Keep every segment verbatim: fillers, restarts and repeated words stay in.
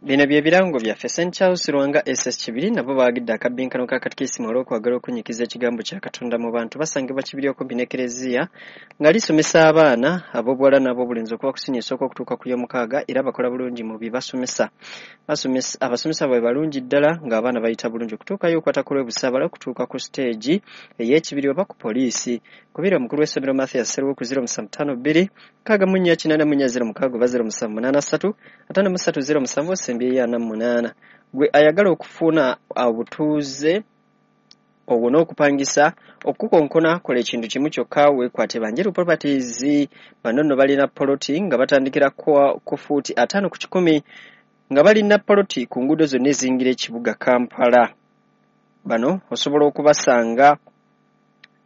Bino bye birango byaffe. Saint Charles Lwanga S S Kibiri nabo baagidde akabbinkano ka katikisimu olw'okwagala okunyikiza ekigambo kya Katonda mu bantu. Basangibwa Kibiri okumpi n'Ekereziya, nga lisomesa abaana ab'obuwala n'ab'obulenzi okuva ku siniya esooka okutuuka ku y'omukaaga, era bakola bulungi mu bye basomesa. Basomesa, abasomesa baabwe balungi ddala, ng'abaana bayita bulungi. Okutuukayo okwata ku lw'e Busaabala okutuuka ku siteegi ey'ekibiri oba ku poliisi. Kubira omukulu w'essomero Mathias Seruwo ku zero musanvu ttaano bbiri nkaaga mu nnya kinaana mu nnya zero mukaaga oba zero musanvu munaana ssatu ataano mu ssatu zero musanvu osembyeyo ana mu munaana. Gwe ayagala okufuna obutuuze obwo n'okupangisa, okukonkona, kola ekintu kimu kyokka, weekwate Banjeru Properties. Bano nno balina poloti nga batandikira ku ku fuuti ataano ku kikumi, nga balina poloti ku nguudo zonna eziyingira ekibuga Kampala. Bano osobola okubasanga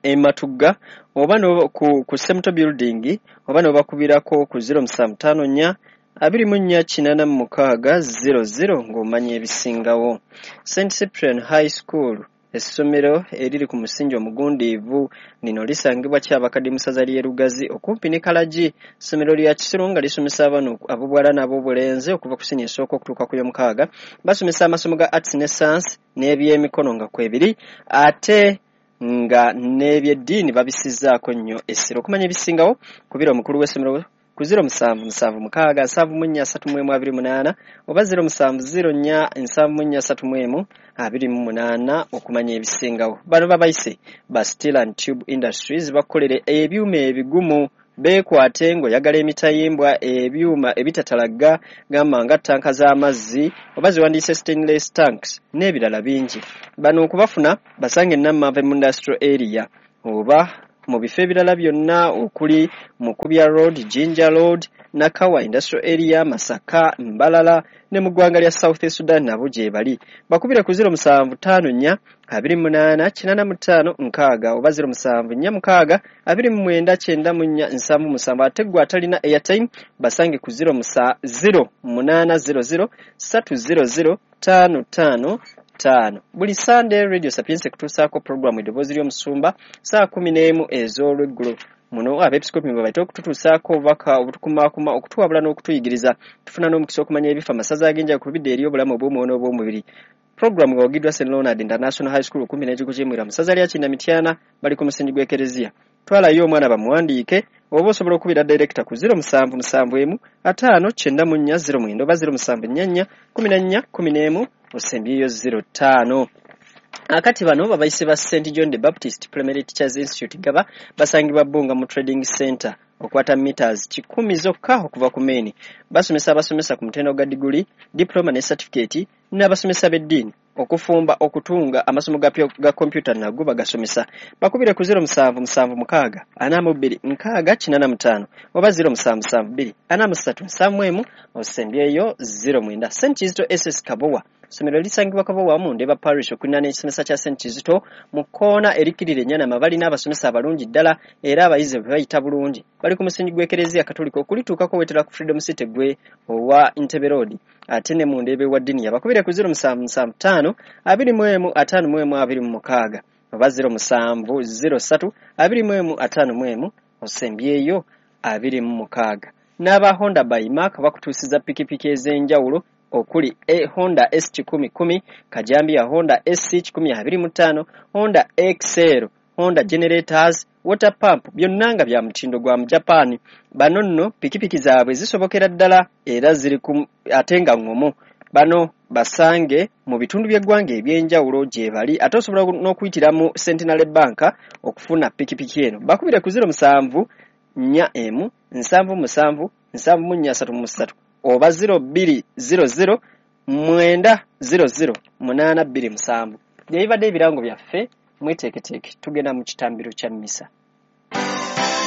e Matugga oba no, ku, ku Semuto Building, oba n'obakubirako ku zero musanvu ttaano nnya abiri mu nnya kinaana mu mukaaga zero zero ng'omanya ebisingawo. Saint Cyprian High School, essomero eriri ku musingi omugundiivu, lino lisangibwa Kyabakadde mu ssaza ly'e Lugazi okumpi ne Kalagi. Ssomero lya kisiru nga lisomesa abaana ab'obuwala n'ab'obulenzi okuva ku siniya esooka okutuuka ku y'omukaaga. Basomesa amasomo ga arts ne science n'ebyemikono nga kwebiri, ate nga n'ebyeddiini babisizzaako nnyo essira. Okumanya ebisingawo, kubira omukulu w'essomero ku zero musanvu musanvu mukaaga nsanvu mu nnya asatu mu emu abiri munaana oba zero musanvu zero nnya nsanvu mu nnya asatu mu emu abiri mu munaana okumanya ebisingawo. Bano babayise ba Steel and Tube Industries, bakukolere ebyuma ebigumu. Beekwate ng'oyagala emitayimbwa, ebyuma ebitatalagga, gamba nga ttanka z'amazzi oba ziwandiise stainless tanks n'ebirala bingi. Bano okubafuna, basange Nammave mu industrial area oba mu bifo ebirala byonna okuli Mukubya Road, Jinja Road, Nakawa Industrial Area, Masaka, Mbalala ne mu ggwanga lya South Sudan nabo gye bali. Bakubire ku zero musanvu ttaano nnya abiri mu munaana kinaana mu ttaano nkaaga oba zero musanvu nnya mukaaga abiri mu mwenda kyenda mu nnya nsanvu musanvu. Ate ggwe atalina airtime, basange ku zero musanvu ttaano zero zero ssatu zero zero ttaano ttaano ttaano. Buli Sande Radio Sapientia ekutuusaako puroguramu Eddoboozi ly'Omusumba saa kumi n'emu ez'olweggulo. Muno abeepiskopi mwe baite okututuusaako obubaka obutukumaakuma, okutuwabula n'okutuyigiriza. Tufuna n'omukisa okumanya ebifa amasaza ag'enjawulo ku bidda eri obulamu obw'omwoyo n'obw'omubiri. Puroguramu ng'ewagiddwa Saint Leonard International High School okumpi n'ekigo ky'Emwira mu ssaza lya Kinda Mityana, bali ku musingi gw'Ekereziya. Twalayo omwana bamuwandiike, oba osobola okubira director ku zero musanvu musanvu emu ataano kyenda mu nnya zero mwenda oba zero musanvu nnya nnya kumi na nnya kumi n'emu osembyeyo zero ttaano. Akati bano babayise ba Saint John the Baptist Primary Teachers Institute Gaba, basangibwa Bbunga mu Trading Center, okwata meters kikumi zokka okuva ku main. Basomesa abasomesa ku mutendera gwa diguli, diploma ne certificate, n'abasomesa b'eddiini, okufumba, okutunga, amasomo ga, ga kompyuta nago bagasomesa. Bakubire ku zero musanvu musanvu mukaaga ana mu bbiri nkaaga kinaana mu ttaano oba zero musanvu musanvu bbiri ana mu ssatu nsanvu mu emu osembyeyo zero mwenda. Saint Kizito S S Kabowa, essomero lisangibwa Kabowa mu Ndeeba Parish okuliraana ekisomesa kya Saint Kizito mu kkoona erikkirira Ennyanama. Balina abasomesa abalungi ddala era abayizi bwe bayita bulungi. Bali ku musingi gw'Ekereziya Katolika. Okulituukako weetera ku Freedom City gwe owa Entebbe Road, ate ne mu Ndeeba ewa Diniya. Bakubire ku zero musanvu musanvu ttaano abiri mu emu ataano mu emu abiri mu mukaaga oba zero musanvu zero ssatu abiri mu emu ataano mu emu osembyeyo abiri mu mukaaga. N'aba Honda by Mark bakutuusiza pikipiki ez'enjawulo okuli e Honda S kikumi kumi, kajambiya Honda S C kikumi abiri mu ttaano, Honda X L, Honda generators, water pump, byonna nga bya mutindo gwa mu Japan. Bano nno pikipiki zaabwe zisobokera ddala era ziri ku ate nga ŋŋomu. Bano basange mu bitundu by'eggwanga eby'enjawulo gye bali, ate osobola n'okuyitira mu Centenary Bank okufuna pikipiki eno. Bakubire ku zero musanvu nnya emu nsanvu musanvu nsanvu mu nnya asatu mu ssatu oba zero bbiri zero zero mwenda zero zero munaana bbiri musanvu. Bye bibadde ebirango byaffe. Mweteeketeeke, tugenda mu kitambiro kya mmisa.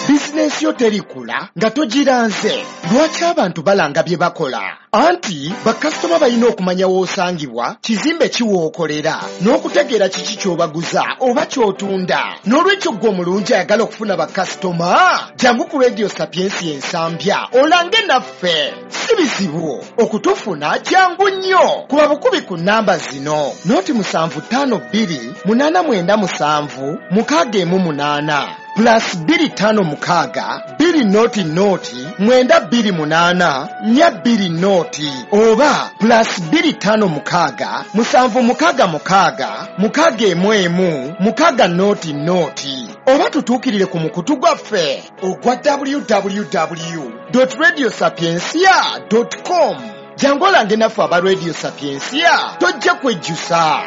Bizinensi yo terikula nga togiranze. Lwaki abantu balanga bye bakola? Anti bakasitoma balina okumanya w'osangibwa, kizimbe kiwookolera, n'okutegeera kiki ky'obaguza oba ky'otunda. N'olwekyo ggwe omulungi ayagala okufuna bakasitoma, jangu ku Radio Sapiensi Ensambya olange naffe. Si bizibu okutufuna, jangu nnyo kuba bukubi ku nnamba zino: noti musanvu ttaano bbiri munaana mwenda musanvu mukaaga emu munaana. plus bbiri ttaano mukaaga bbiri noti noti mwenda bbiri munaana nnya bbiri noti oba plus bbiri ttaano mukaaga musanvu mukaaga mukaaga mukaaga emu emu mukaaga noti noti oba tutuukirire ku mukutu gwaffe ogwa w w w radio sapientia com. Jangu olange naffe aba Radio Sapientia, tojja kwejjusa.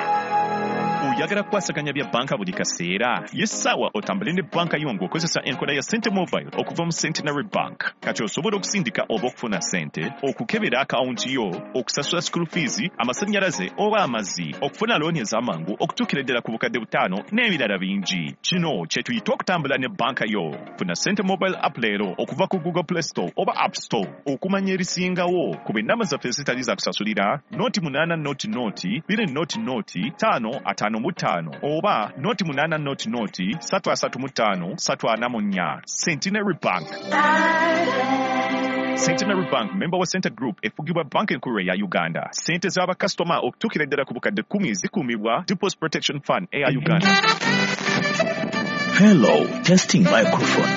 Oyagala kukwasaganya bya banka buli kaseera? Yessaawa otambule ne banka yo ng'okozesa enkola ya Sente Mobile okuva mu Centenary Bank. Kati osobola okusindika oba okufuna sente, okukebera akawunti yo, okusasula school fees, amasannyalaze oba amazzi, okufuna looni ez'amangu okutuukira ddala ku bukadde butaano n'ebirala bingi. Kino kye tuyita okutambula ne banka yo. Funa Sente Mobile app leero okuva ku Google Play Store oba App Store. Okumanya erisingawo, kuba ennamba zaffe ezitali za kusasulira noti munaana noti noti bbiri noti noti ttaano ataano mu ttaano oba noti munaana noti noti ssatu asatu mu ttaano ssatu ana mu nnya. Centenary Bank. Centenary Bank, member wa Sente Group, efugibwa Banka Enkulu eya Uganda. Sente z'abakasitoma okutuukira ddala ku bukadde kkumi zikuumibwa Deposit Protection Fund eya Uganda. Hello, testing microphone.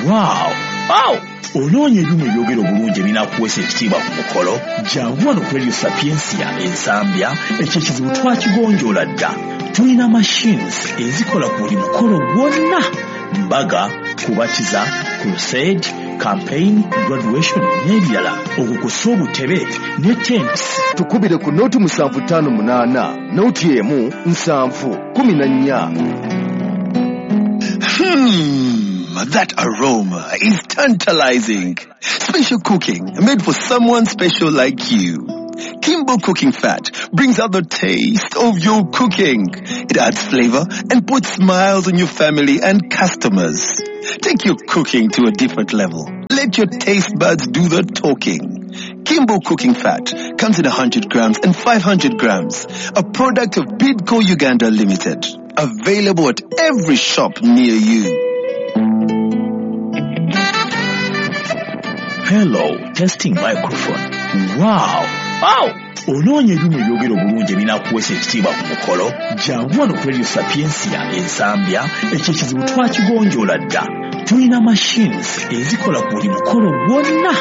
Wow! Wow! Onoonya ebyuma ebyogera obulungi ebinaakuweesa ekitiibwa ku mukolo? Jangu wano ku Radio Sapientia Ensambya, ekyo ekizibu twakigonjoola dda. Tulina machines ezikola ku buli mukolo gwonna: mbaga, kubatiza, crusade, campaign, graduation n'ebirala, okwo kw'ossa obutebe ne tents. Tukubire ku noti musanvu ttaano munaana noti emu nsanvu kumi na nnya. Hmm, that aroma is tantalizing. Special cooking made for someone special like you. Kimbo Cooking Fat brings out the taste of your cooking. It adds flavor and puts smiles on your family and customers. Take your cooking to a different level. Let your taste buds do the talking. Kimbo Cooking Fat comes in one hundred grams and five hundred grams. A product of Bidco Uganda Limited. Available at every shop near you. Hello, testing microphone. Wow! Wow! Onoonya ebyuma ebyogera obulungi ebinaakuweesa ekitiibwa ku mukolo? Jangu wano ku Radio Sapientia Ensambya, ekyo ekizibu twakigonjoola dda. Tulina machines ezikola ku buli mukolo gwonna: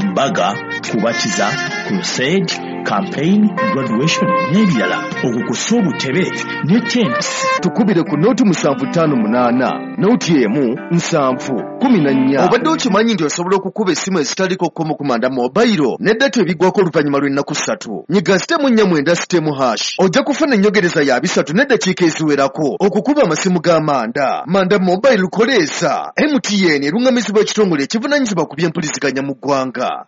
mbaga, kubatiza, crusade, campaign, graduation n'ebirala, okwo kw'ossa obutebe ne tents. Tukubire ku noti musanvu ttaano munaana noti emu nsanvu kumi na nnya. Obadde okimanyi nti osobola okukuba essimu ezitaliko kkomo ku Manda Mobile ne data ebiggwako oluvannyuma lw'ennaku ssatu? Nyiga star nnya mwenda star hash, ojja kufuna enyogereza ya bisatu n'eddakiika eziwerako okukuba amasimu ga Manda. Manda Mobile koleesa M T N, eruŋŋamizibwa ekitongole ekivunaanyizibwa ku byempuliziganya mu ggwanga.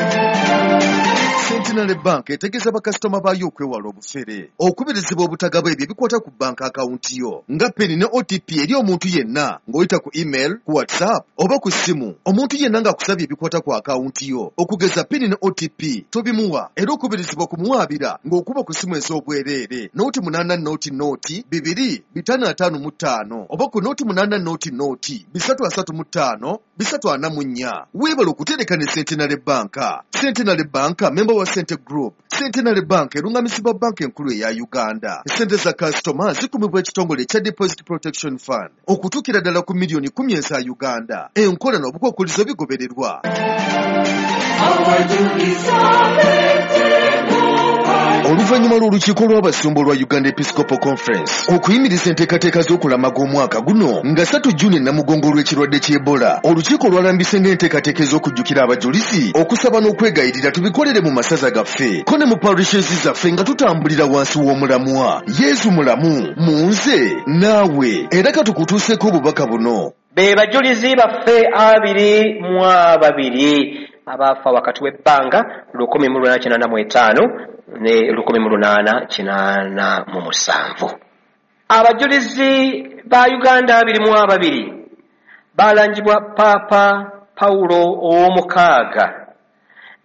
Centenary Bank etegeeza bakasitoma baayo okwewala obufere. Okubirizibwa obutagaba ebyo ebikwata ku banka akawunti yo nga PIN ne O T P eri omuntu yenna ng'oyita ku email, ku WhatsApp oba ku ssimu. Omuntu yenna ng'akusabye ebikwata ku akawunti yo, okugeza PIN ne O T P, tobimuwa, era okubirizibwa kumuwaabira ng'okuba ku ssimu ez'obwereere nooti munaana nooti nooti bibiri bitaano ataano mu ttaano oba ku nooti munaana nooti nooti bisatu asatu mu ttaano bisatu ana mu nnya. Weebale okutereka ne Centenary Banka. Centenary Banka, member wa Sente Group. Centenary Bank erungamizibwa Banka Enkulu eya Uganda. Sente za kasitoma zikumibwa ekitongole ekya Deposit Protection Fund okutuukira ddala ku miliyoni kumi eza Uganda. Enkola n'obukwakkulizo bigobererwa. Oluvannyuma lw'olukiiko lw'abasumba olwa Uganda Episcopal Conference okuyimiriza enteekateeka z'okulamaga omwaka guno nga ssatu Juni Namugongo olw'ekirwadde ky'Ebola, olukiiko lwalambise ng'enteekateeka ez'okujjukira abajulizi, okusaba n'okwegayirira tubikolere mu masaza gaffe ko ne mu parishes zaffe nga tutambulira wansi w'omulamwa "Yesu mulamu mu nze naawe". Era katukutuuseeko obubaka buno. Be bajulizi baffe abiri mu ababiri abaafa wakati w'ebbanga lukumi mu lunaana kinaana mu etaano ne lukumi mu lunaana kinaana mu musanvu. Abajulizi ba Uganda abiri mu ababiri balangibwa Paapa Pawulo ow'omukaaga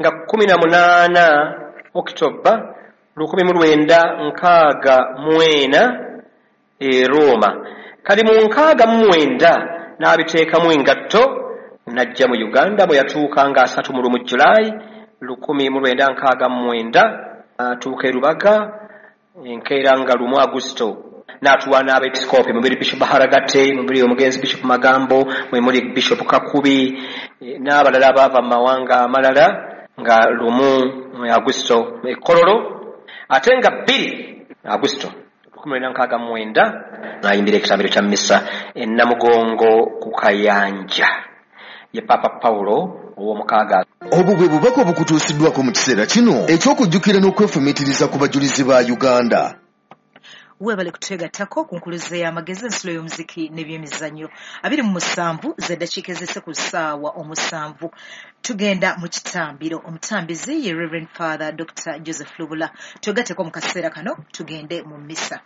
nga kumi na munaana Okitoba lukumi mu lwenda nkaaga mu ena e Roma. Kali mu nkaaga mu mwenda n'abiteekamu engatto n'ajja mu Uganda bwe yatuuka nga asatu mu lumu Julayi lukumi mu lwenda nkaaga mu mwenda, atuuka e Rubaga enkeera nga lumu Agusito N'atuwa n'abeepisikoopi mubiri Bishop Haragate, mubiri omugenzi Bishop Magambo, mwe muli Bishop Kakubi n'abalala abaava mu mawanga amalala, nga lumu Agusto e Kololo, ate nga bbiri Agusto lukumi lwenda nkaaga mu mwenda n'ayimbira ekitambiro kya mmisa e Namugongo ku Kayanja. Ye Papa Paulo ow'omukaaga. Obwo bwe bubaka obukutuusiddwako mu kiseera kino eky'okujjukira n'okwefumiitiriza ku bajulizi ba Uganda. Weebale kutwegattako ku nkuluze y'amagezi, ensulo y'omuziki n'ebyemizannyo. Abiri mu musanvu z'eddakiika ezise ku ssaawa omusanvu. Tugenda mu kitambiro. Omutambizi ye Reverend Father Doctor Joseph Lubula. Twegatteko mu kaseera kano tugende mu mmisa.